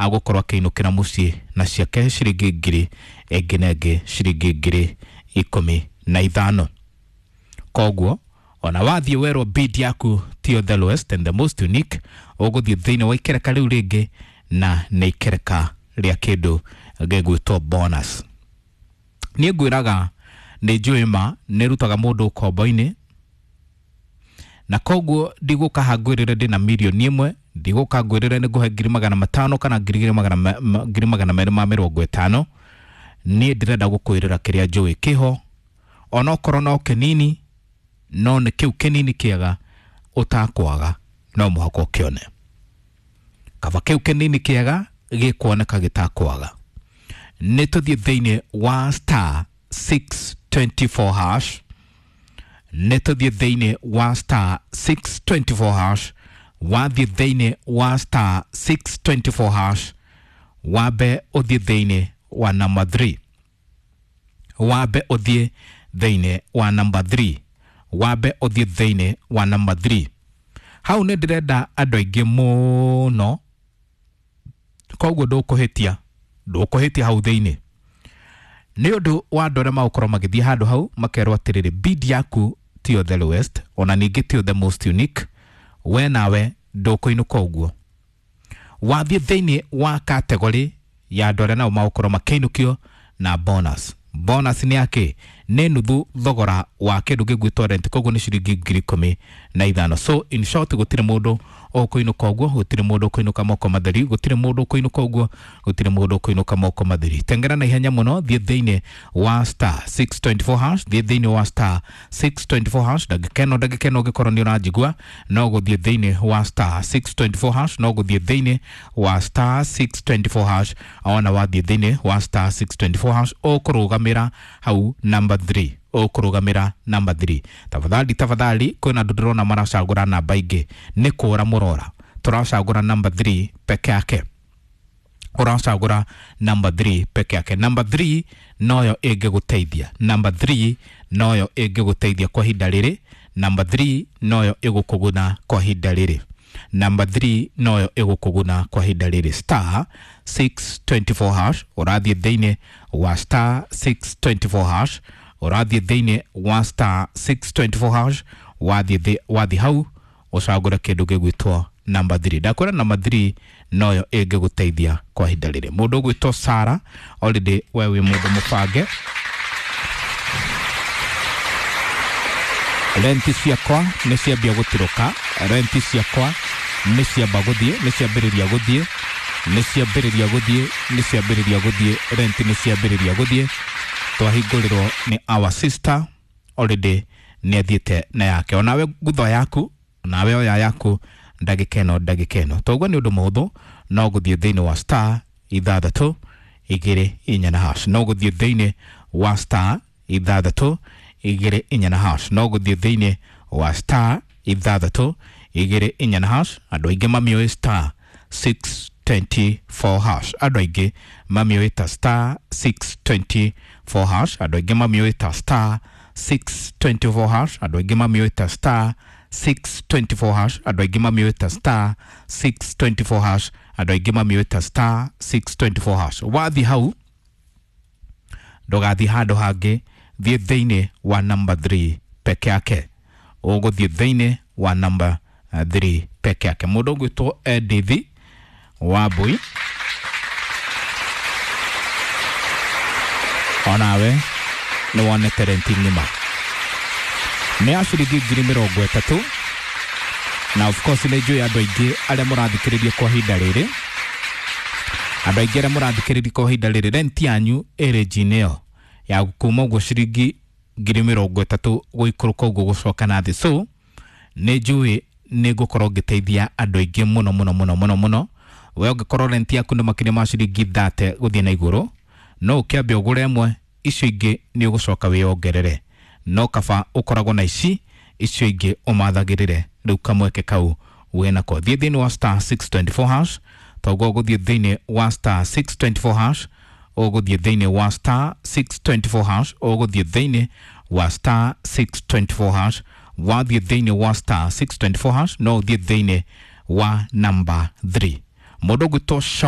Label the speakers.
Speaker 1: agũkorwo akĩinũkĩra mũciĩ na ciake ciringi ngiri ĩngĩ na ĩngĩ ciringi 15,000. Koguo ona wathiĩ werwo bid yaku tiyo the lowest and the most unique, ũgũthiĩ thĩinĩ wa ikereka rĩu rĩngĩ na nĩ ikereka rĩa kĩndũ gĩgwĩtwo bonus. Niĩ ngwĩraga nĩ njũĩ ma nĩ rutaga mũndũ ũkombo-inĩ, na koguo ndigũka haha ngwĩrĩre ndĩna 1 million, ndigũka ngwĩrĩre nĩ ngũhe 500,000 kana 250,000. Niĩ ndĩrenda gũkwĩrĩra kĩrĩa njũĩ kĩho, onokorwo no kĩnini, no nĩ kĩu kĩnini kĩega ũtakwaga, no mũhaka ũkĩone. Kaba kĩu kĩnini kĩega gĩkuoneka gĩtakwaga. Nĩ tũthiĩ thĩinĩ wa star 624 hash, nĩ tũthiĩ thĩinĩ wa star 624 hash. Wathiĩ thĩinĩ wa star 624 hash, wambe ũthiĩ thĩinĩ wa number 3, wambe ũthiĩ thĩinĩ wa number 3, wambe ũthiĩ thĩinĩ wa number 3. Hau nĩ ndĩrenda andũ aingĩ mũno, koguo ndũkũhĩtia, ndũkũhĩtia hau thĩinĩ nĩ ũndũ wa andũ arĩa magũkorwo magĩthiĩ handũ hau makerwo atĩrĩrĩ, bid yaku tiyo the lowest, ona ningĩ tiyo the most unique, we nawe ndũkũinũka ũguo. Wathiĩ thĩinĩ wa category ya andũ arĩa nao magũkorwo makĩinũkio na bonus. Bonus nĩ yakĩ? Nĩ nuthu thogora wa kĩndũ gĩgwĩtwo rent, koguo nĩ ciringi 15,000. So in short, gũtirĩ mũndũ ũkũinũka ũguo, gũtirĩ mũndũ ũkũinũka moko matheri, gũtirĩ mũndũ ũkũinũka ũguo, gũtirĩ mũndũ ũkũinũka moko matheri. Tengera na ihenya mũno, thiĩ thĩinĩ wa star 624 hash, thiĩ thĩinĩ wa star 624 hash. Ndagĩka ĩno, ndagĩka ĩno ũngĩkorwo nĩ ũranjigua, no gũthiĩ thĩinĩ wa star 624 hash, no gũthiĩ thĩinĩ wa star 624 hash. Ona wathiĩ thĩinĩ wa star 624 hash, ũkũrũgamĩra hau number 3, ũkũrũgamĩra number 3. Tafadhali, tafadhali, kwĩna andũ ndĩrona maracagũra namba ingĩ, nĩ kũra mũrora. Tũracagũra number 3 peke yake, ũracagũra number 3 peke yake. Number 3 noyo ĩngĩgũteithia, number 3 noyo ĩngĩgũteithia kwa ihinda rĩrĩ, number 3 noyo ĩgũkũguna kwa ihinda rĩrĩ, number 3 noyo ĩgũkũguna kwa ihinda rĩrĩ. Star 624 hash, ũrathiĩ thĩinĩ wa star 624 hash, ũrathiĩ thĩinĩ wa star 624 hash. Wathiĩ hau ũcagũre kĩndũ gĩgwĩtwo number 3. Ndakwĩra number 3 noyo ĩngĩgũteithia kwa ihinda rĩrĩ. Mũndũ ũgwĩtwo Sara, already we wĩ mũndũ mũbange. Renti ciakwa nĩ ciambia gũtirũka, renti ciakwa nĩ ciamba gũthiĩ, nĩ ciambĩrĩria gũthiĩ, nĩ ciambĩrĩria gũthiĩ, nĩ ciambĩrĩria gũthiĩ, renti nĩ ciambĩrĩria gũthiĩ. Twahingũrĩrwo nĩ our sister, already nĩ athiĩte na yake. Onawe ngutho yaku, onawe oya yaku ndagĩka ĩno, ndagĩka ĩno. Toguo nĩ ũndũ mũhũthũ, no gũthiĩ thĩinĩ wa star 624 na hash, no gũthiĩ thĩinĩ wa star 624 na hash, no gũthiĩ thĩinĩ wa star 624 na hash. Andũ aingĩ mamĩũĩ star 624 hash, andũ aingĩ mamĩũĩ ta star 624 hash, andũ aingĩ mamĩũĩ ta star 624 hash, andũ aingĩ mamĩũĩ ta star 624 hash, andũ aingĩ mamĩũĩ ta star 624 hash, andũ aingĩ mamĩũĩ ta star 624 hash. Wathiĩ hau ndũgathiĩ handũ hangĩ, thiĩ thĩinĩ wa number 3 peke yake, ũgũthiĩ thĩinĩ wa number 3 peke yake. Mũndũ ũgwĩtwo Edith Wambui, onawe nĩ wonete renti ng'ima nĩ ya ciringi 30,000. Na of course nĩ njũĩ andũ aingĩ arĩa mũrathikĩrĩria kwa ihinda rĩrĩ, andũ aingĩ arĩa mũrathikĩrĩria kwa ihinda rĩrĩ, renti yanyu ĩrĩ njinĩ ĩyo ya kuma ũguo ciringi 30,000 gũikũrũka ũguo gũcoka na thĩ. So nĩ njũĩ nĩ ngũkorwo ngĩteithia andũ aingĩ mũno mũno mũno mũno mũno. We ũngĩkorwo renti yaku nĩ makĩria ma ciringi 30 gũthiĩ na igũrũ, no ũkĩambe ũgũre ĩmwe, icio ingĩ nĩ ũgũcoka wĩyongerere, no kaba ũkoragwo na ici, icio ingĩ ũmathagĩrĩre. Rĩu kamweke kau wĩnako, thiĩ thĩinĩ wa star 624 hash. Toguo ũgũthiĩ thĩinĩ wa star 624 hash, ũgũthiĩ thĩinĩ wa star 624 hash, ũgũthiĩ thĩinĩ wa star 624 hash. Wathiĩ thĩinĩ wa star 624 hash, no ũthiĩ thĩinĩ wa number 3. Mũndũ ũgwĩtwo